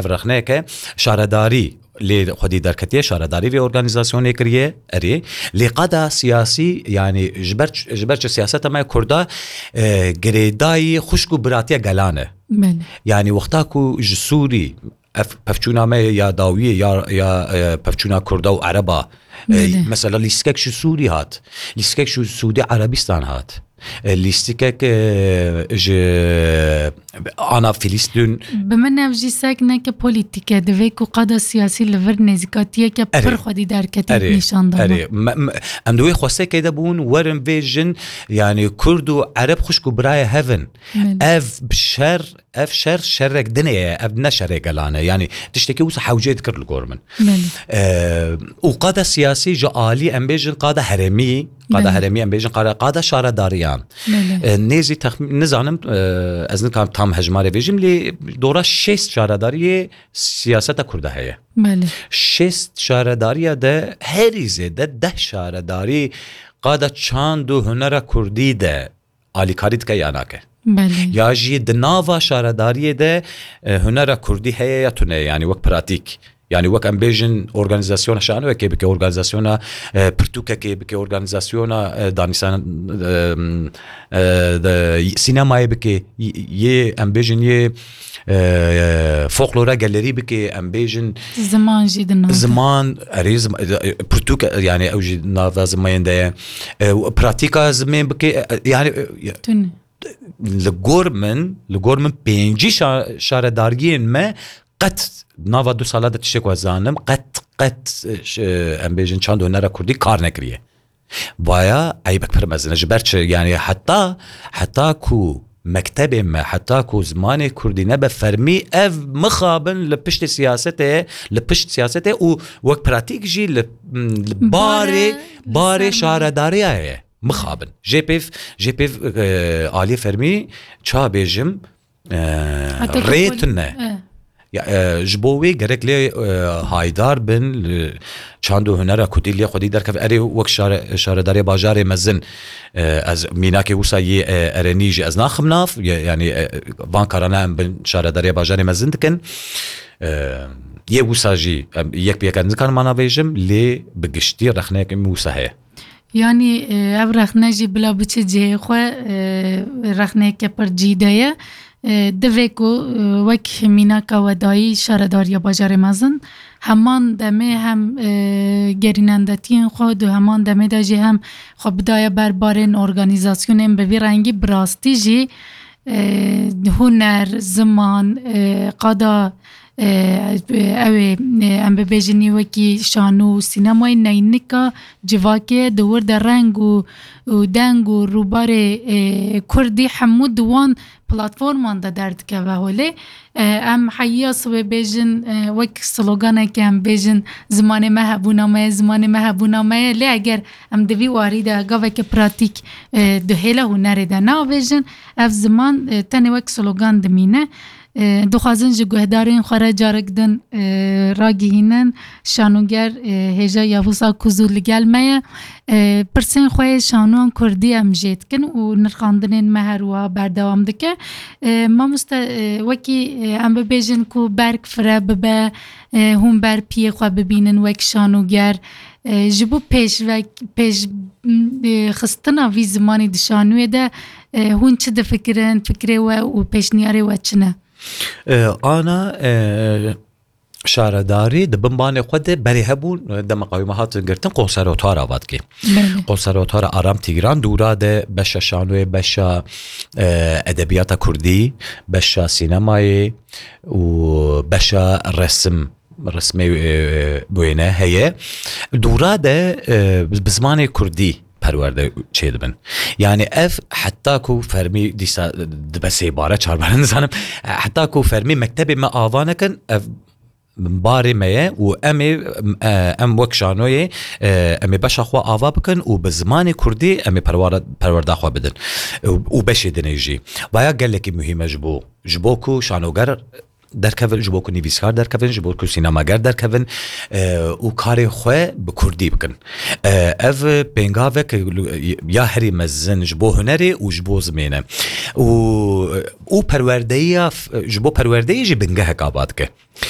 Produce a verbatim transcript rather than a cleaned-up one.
Ev rexneyeke şaredarî lê xwedî derketiye, şaredarî vê organîzasyonê kiriye, erê. Lê qada siyasî, yanî ji ber, ji ber çi siyaseta me Kurda, e, girêdayî xwişk û biratiya gelan e. Belê. Yanî wexta ku ji Sûrî, ev pevçûna me ya dawiyê ya, ya, e, pevçûna Kurda û Ereba, e, Belê. mesela lîstikek ji Sûrî hat, lîstikek ji Sûdî Erebistan hat, e, lîstikek, e, ji ana Filistîn. Bi min ev jî sek neke polîtîk e, divê ku qada siyasî li vir nêzîkatiyeke Erê. pir xwedî derketî Erê, nîşan da. erê. Me, me, em di wê xwestekê de bûn, werin vêjin, yanî Kurd û Ereb xwişk û birayê hev in. Belê. Ev şer, ev şer şerek dinê ye, ev ne şerê gelan e. Yanî tiştekî wisa hewcê dikir li gor min. Belê. E, û qada siyasî ji alî em bêjin qada herêmî, qada Belê. herêmî em bêjin qada, qada şaredariyan. Belê. E, nêzî texmîn, nizanim, e, ez nikarim tam hejmarê bêjim, lê dora şêst şaredariyê siyaseta Kurda heye. Belê. Şêst şaredariya de herî zêde deh şaredarî qada çand û hunera Kurdî de alîkarî dike ya nake. Belê. Ya jî di nava şaredariyê de, e, hunera Kurdî heye ya tune, yanî wek pratîk. Yanî wek em bêjin organîzasyona şanoyekê bike, organîzasyona, e, pirtûkekê bike, organîzasyona, e, danîsan, e, e, de, sînemayê bike, y-, yê em bêjin yê, e, folklora gelerî bike, em bêjin Ziman jî di nav de. Ziman, erê zim-, e, pirtûk, e, yanî ew jî nava zimayên de ye. E, pratîka zimên bike, e, yanî, e, Tune. li gor min, li gor min pêncî şa-, şaredariyên me qet nava du sala de tiştek we zanim, qet, qet, e, ş-, e, em bêjin çand û hunera Kurdî kar nekiriye. Vaya eybek pir mezin e. Ji ber çi? Yanî heta, heta ku mektebê me, heta ku zimanê Kurdî nebe fermî, ev mixabin li piştê siyasetê, li pişt siyasetê û wek pratîk jî li, li barê, Bare, barê li ser şaredariya ye. Mixabin. Jê pêv, jê pêv, e, aliyê fermî ça bêjim, e, Heta ku rê pol- tune. E. Ya, e, ji bo wê gerek lê, e, haydar bin, li çand û hunera Kurdî lê xwedî derkeve. Erê wek şare-, şaredarê bajarê mezin, e, ez mînakê wisa yê, e, erenî jî ez naxim nav, ye-, yanî, e, van karana em bin şaredarê bajarê mezin dikin. E, yê wisa jî, em, yek bi yek ez nikarim ana vêjim, lê bi giştî rexneyek min wisa heye. Yanî, e, ev rexne jî bila biçe cihê xwe, e, rexneyeke pir cî de ye. E, divê ku, e, wek mînaka we dayî şaredariya bajarê mezin, heman demê hem, e, gerînendetiyên xwe di heman demê de jî hem xwe bidaya ber barên organîzasyonên bi vî rengî bi rastî jî, e, huner, ziman, e, qada, e, ew ê, e, em bibêjin wekî şano û sînemayê neynika civakê di wir de reng û, û deng û rûbarê, e, Kurdî hemû di wan platforman de derdikeve holê. E, em heyiya sibê bêjin, e, wek sloganeke em bêjin, "Zimanê me hebûna me ye, zimanê me hebûna me ye." Lê eger em di vî warî de gaveke pratîk, e, di hêla hunerê de neavêjin, ev ziman, e, tenê wek slogan dimîne. E, dixwazin ji guhdarên xwe re carek din, e, ragihînin. Şanoger, e, hêja Yavuz Akkuzu li gel me ye. E, pirsên xwe yê şanoyan kurdî em jê dikin û nirxandinên me her wiha berdewam dike. E, mamoste, e, wekî, e, em bibêjin ku berg fire bibe, e, hûn ber piyê xwe bibînin wek şanoger. E, ji bo pêşvek-, pêş, m, e, xistina vî zimanî di şanoyê de, e, hûn çi difikirin, fikrê we û pêşniyarê we çi ne? E, ana, e, şaredarî di bin banê xwe de berê hebûn, dema qewî me hatin girtin, konservatwara vatke. Belê. Konservatwara Aram Tîgran dûra de beşa şanoyê, beşa, e, edebiyata kurdî, beşa sînemayê û beşa resim, resmê, e, wêne heye. Dûra de, e, bi, bi zimanê kurdî perwerde çêdibin. Yani ev heta ku fermî dîsa dibe sê bare, çar bare nizanim, heta ku fermî mektebê me ava nekin, ev barê me ye û em ê, e, em wek şanoyê, e, em ê beşa xwe ava bikin û bi zimanê kurdî em ê perwara-, perwerda xwe bidin. Û, û beşê dinê jî. Vaya gelekî muhîm e ji bo, ji bo ku şanoger derkevin, ji bo ku nivîskar derkevin, ji bo ku sînemager derkevin, e, û karê xwe bi kurdî bikin. E, ev pêngavek ya herî mezin ji bo hunerê û ji bo zimên e. Û, û perwerdeyiya f-, ji bo perwerdeyê jî bingehek ava dike.